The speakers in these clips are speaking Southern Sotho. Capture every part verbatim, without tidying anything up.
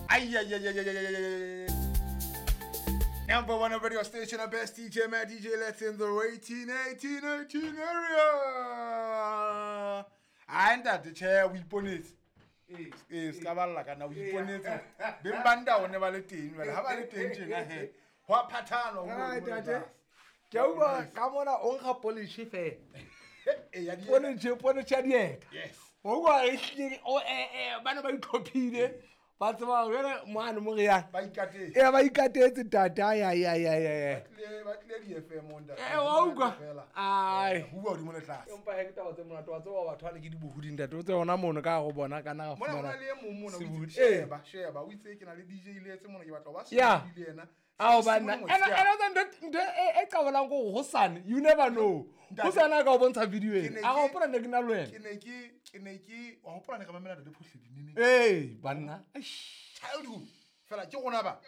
Ay, ay, ay, ay, ay, ay, ay, ay. Number one radio station, the best D J, man, D J Let's in the eighteen, eighteen, eighteen area. And that the chair we ponit. Eh, skaballa kana o iponetse. Beng ba nda one ba le teng jwale ha ba le teng tjena he. Ho a phathana ho ntate. Ke utlwa ka mona o nkga polish fela. Eh ya di. Polish, polish ya dieta. Yes. O kwa e hlile o eh eh bana ba itlhophile. Ba tseba jwale moano mo re yang. Ba ikatetse. Eh ba ikatetse tata ya ya ya ya. Ba tlile ba tlile di F M onda. Eh wa utlwa. Ai. Ho bua hodimo le tlase. Empa he ke taba tse monate wa tseba batho ba le ke dibohudi ntate o tse hona mono ka go bona kana ga Mona fumana. hona le e mong mona o itse Sebodi. sheba sheba o itse ke na le D J le etse mona ke batla ho ba Yeah. sebodi le yena. Ao banna. Ena ena tsa ntho ntho e e qabolang go hosane you never know. Hosane a ka o bontsha video ena. A go hopola ne ke na le wena. Ke ne ke ke ne ke wa hopola ne re mamela Ntate Phohledi nene. Eh banna. Eish. Childhood. Fela ke rona ba.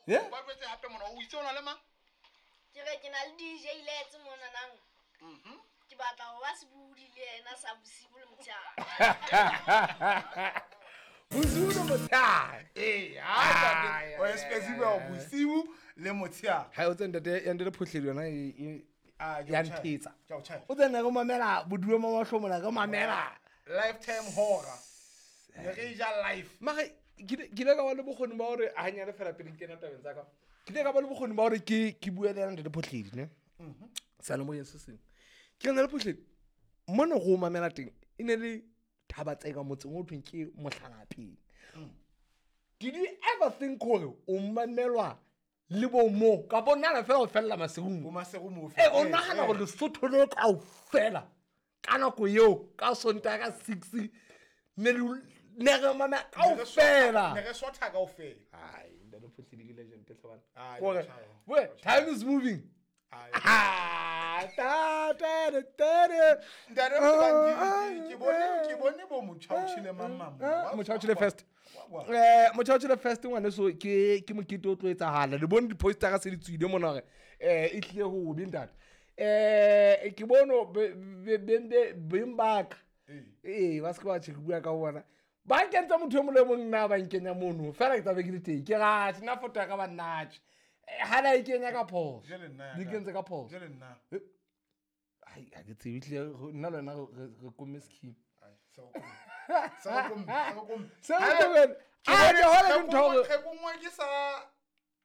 Yeah. Ba jwetse hape mona o itse ona le mang? Ke re ke na le D J Letse mona nang. Mhm. Ke batla ho ba sebodi le yena sa bosibu le motshehare. Bosibu le motshehare. Eh, ha o especially wa bosibu le motshehare. Ha o tse ntate ya Ntate Phohledi yona e Ah, ya nthetsa. Ke a o tjhaya. O tsena re mamela boduwe mo mahlomola re mamela. Lifetime horror. Ne re ja life. Mare ke ke ile ka ba le bokgoni ba hore a hanyane fela pele ke kena tabeng tsa ka. Ke ile ka ba le bokgoni ba hore ke ke bue le yena Ntate Phohledi ne. Mhm. Seyalemoyeng se seng. Ke na le Phohledi mona go mamela teng e ne le thaba tseka motseng o thweng ke Mohlalapeng. Did you ever think hore o mamelwa le bo mo ka bona fela o fella maserung? Bo maseru mo Eh o nahana hore Lesotho le kaofela ka nako eo ka Sontaha ka six ne ne re mamela kaofela. Ne re sotha kaofela. Ai Ntate Phohledi ke legend hle bana. Ai, Kore, tjhaya. we time is moving. Ai. Ah, ta ta ta ta. Ntate Phohledi ke bone ke bone bo Motjhaotjhele mang mang. Motjhaotjhele first. Eh Motjhaotjhele first ngwaneso ke ke mokete o tlo etsahala. Le bone di-poster se di tswile mona hore eh e tlile ho be ntate. Eh ke bono be be beng ba ka. Eh ba se ba tjhe bua ka bona. Ba nkentse motho e mong le mong nna ba nkenya mono. Fela ke tla be ke le teng. Ke ratse nna foto ya ka ba nnatje. Ha la e kenya ka phoso. Jwale nna ya Di ka. kentse ka phoso. Jwale nna. Ai ha ke tsebe tlile nna le wena re re komme scheme. Ai, se o komme. Se o komme, se o komme. Se o komme. Ke Ah, bone ke hole ke ntho hore ke kongwa ke sa